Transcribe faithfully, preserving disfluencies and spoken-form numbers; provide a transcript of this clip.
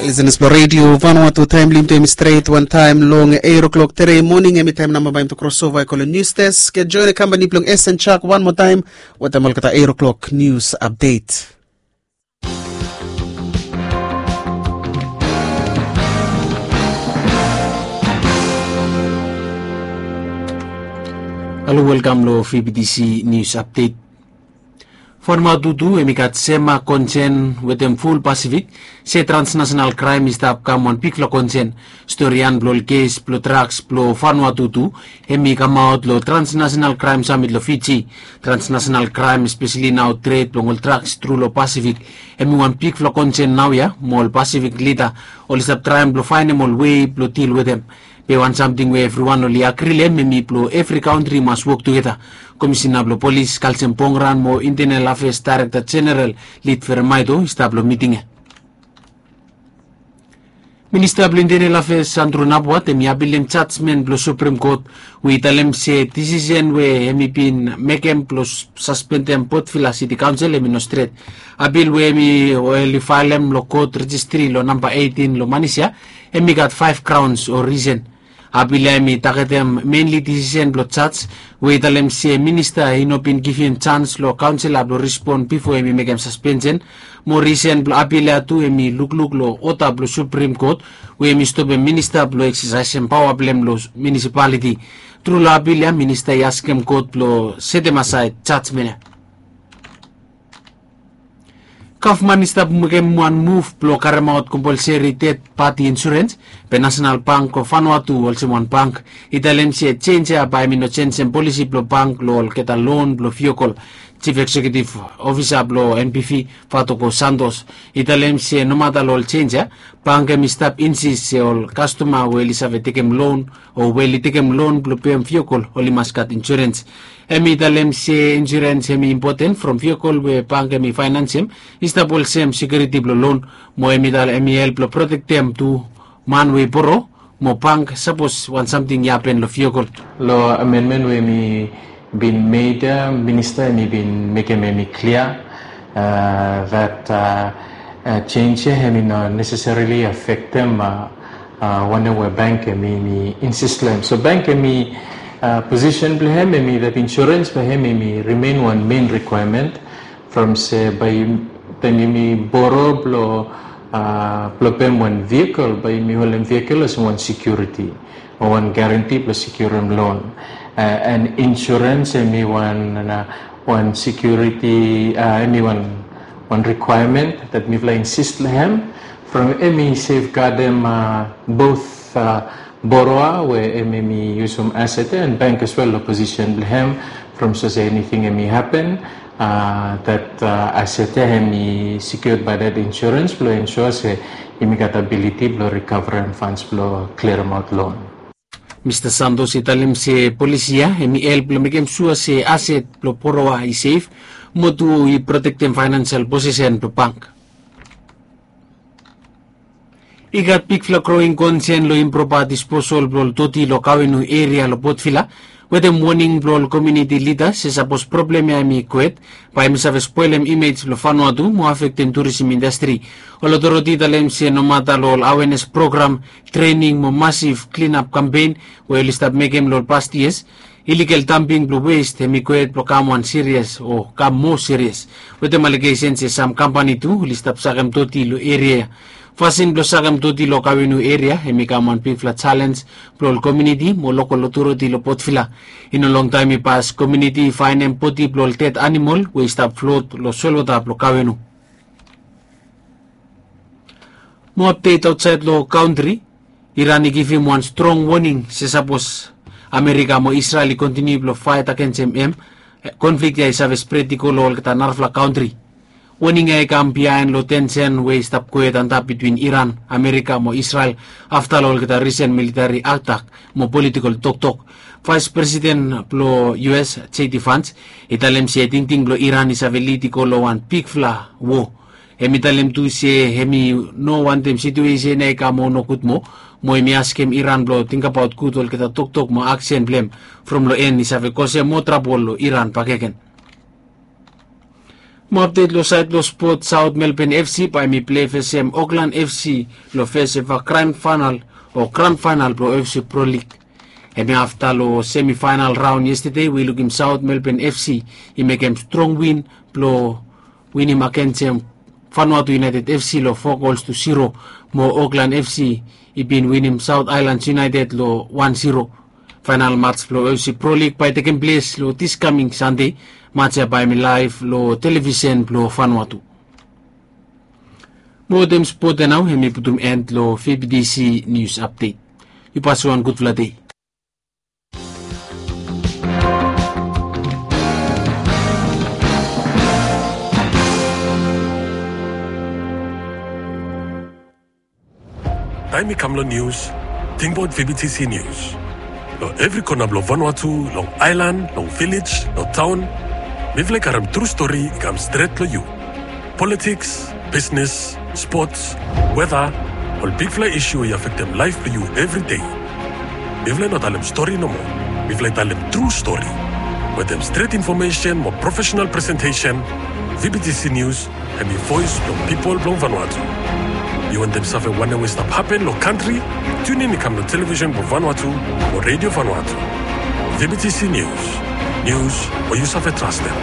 Lisenas blong redio Vanuatu, taem blong yumi tu hemi stret wantaem long eight o'clock tere moning. Hemi taem nao bae yumi tu krosova i go long nius desk. Joen kambani blong S N Chak wan moa taem wetem olgeta eight o'clock nius apdet. Halo, welkam long V B T C News Update. Vanuatu tu hemi gat sem konsen wetem ful Pasifik se transnasenal kraem i stap kam wan bigfala konsen. Storian blong ol kes blong draks blong Vanuatu tu hemi kamaot long Transnasenal Kraem Samit long Fiji. Transnasenal kraem, espeseli nao tred blong ol draks tru long Pasifik, hemi wan bigfala konsen naoia mo ol Pasifik lida oli stap traem blong faenem ol wei blong dil wetem. Be wan samting we evriwan oli agri long hem hemi blong evri kantri i mas wok tugeta. Komisina blong polis Kalsem Pongran mo Intenel Afeas Daerekta Jeneral Lid Feremaeto i stap long miting ya. Minista blong Intenel Afeas Andru Napuat hemi apilem jajmen blong Suprem Kot we i talem se disisen we hemi bin mekem blong saspendem Potvila Siti Kaonsel hemi no stret. Apil we hemi oli faelem long kot rejistri long namba eitin long Manisia hemi gat faef graons o risen. Apil ya hemi tagetem menli disisen blong jaj we i talem se minista i no bin givim jans long kaonsela blong rispon bifo hemi mekem saspensen. Mo risen blong apil ya tu hemi lukluk long oda blong Suprem Kot we hemi stopem minista blong eksesaesem paoa blong hem long munisipaliti. Tru long apil ya minista i askem kot blong setem asaed jajmen ya. Gavman i stap mekem wan muv blong karemaot kompolseri ded pati insurens. Be Nasenal Bank of Vanuatu olsem wan bank i talem se jenj ya bae hemi no jenjem polisi blong bank long olgeta lon blong viokol. Jif Eksekiutiv Ofisa blong N B V, Fatoko Santos, i talem se nomata long ol jenj ya, bank hemi stap insis se ol kastoma we oli save tekem lon o we oli tekem lon blong pem viokol oli mas gat insurens. Hemi talem se insurens hemi impoten from viokol we bank hemi faenansem i stap olsem sekiuriti blong lon, mo hemi talem hemi help blong protektem tu man we i boro mo bank sapos wan samting i hapen long viokol. Long amenmen we hemi bin made ya, minista hemi bin mekem hemi klia that jenj ya hemi no neseserili afektem wanem we bank hemi insis long hem. So bank hemi posisen blong hem hemi that insurens blong hem hemi rimen wan men rikwaemen from se bae taem yumi boro blong blong pem wan viokol bae yumi holem viokol olsem wan sekiuriti o wan garanti blong sekiurem lon. And insurens hemi wan wan sekiuriti, hemi wan wan rikwaemen that mifala insis long hem from hemi sefgadem both boroa we hemi yusum aset ya and bank as well long posisen blong hem from sapos eniting hemi hapen that aset ya hemi sekiured bae that insurens blong ensua se yumi gat abiliti blong rikavarem fans blong kliremaot lon. Mista Santos i talem se polisi ya hemi help blong mekem sua se aset blong boroa i sef mo tu i protektem faenansel posisen blong bank. I gat bigfala groing konsen long impropa disposol blong ol doti long Kawenu eria long Potvila wetem woning blong ol komiuniti lida se sapos problem ya hemi kwet bae hemi save spolem imej blong Vanuatu mo afektem turisim indastri. Ol otoriti i talem se nomata long ol awenes program, trening mo masif klinap kampen we oli stap mekem long ol past yias, iligal damping blong west hemi kwet blong kam wan sirias o kam moa sirias wetem alegesen se sam kampani tu oli stap sakem doti long eria ya. Fasin blong sakem doti long Kawenu eria hemi kam wan bigfala jalenj blong ol komiuniti mo lokol otoriti long Potvila. I no longtaem i pas komiuniti i faenem bodi blong ol ded anamol we i stap flot long solwota blong Kawenu. Mo apdet aotsaed long kantri, Iran i givim wan strong woning se sapos Amerika mo Israel i kontiniu blong faet agensem hem, konflik ya i save spret i go long olgeta narafala kantri. Woning ya i kam biaen long tensen we i stap gohed antap bitwin Iran, Amerika mo Israel afta long olgeta risen militari atak mo politikol toktok. Vaes Presiden blong U S, J D Vance, i talem se tingting blong Iran i save lid i go long wan bigfala wo. Hem i talem tu se hem i no wantem situesen ya i kam moa nogud moa, mo hem i askem Iran blong tingbaot gud olgeta toktok mo aksen blong hem from long en i save kosem moa trabol long Iran bakegen. Mo apdet lo saed blo spot, South Melbourne F C bae hemi plei fesem Auckland F C lo fes eva grand final o grand final blo F C Pro League. Hemi afta lo semi final raon yestede we i lukim South Melbourne F C i mekem strong win blo winim agensem Vanuatu United F C lo fo gols tu zero. Mo Auckland F C i bin winim South Islands United lo wan zero. Final mats blo F C Pro League bae tekem ples lo dis kaming Sande. Mats ya bae hemi laev lo televisen blo Vanuatu. Mo wetem spot ya nao hemi putum end lo V B T C News Update. Yu pasa wan gudfala dei. Taem i kam lo nius, tingbaot V B T C News. Lo evri kona blo Vanuatu, long aelan, long vilej, lo taon, mifala i karem tru stori i kam stret lo yu. Politiks, bisnes, spots, weta, ol bigfala isu we i afektem laef blo yu evri dei. Mifala i no talem stori nomo. Mifala i talem tru stori. Wetem stret infomesen mo profesenal presentesen, V B T C News hemi voes blong pipol blong Vanuatu. Yu wantem save wanem we i stap hapen lo kantri? Tiunin i kam lo televisen blong Vanuatu o Redio Vanuatu. V B T C News. Nius we yu save trastem.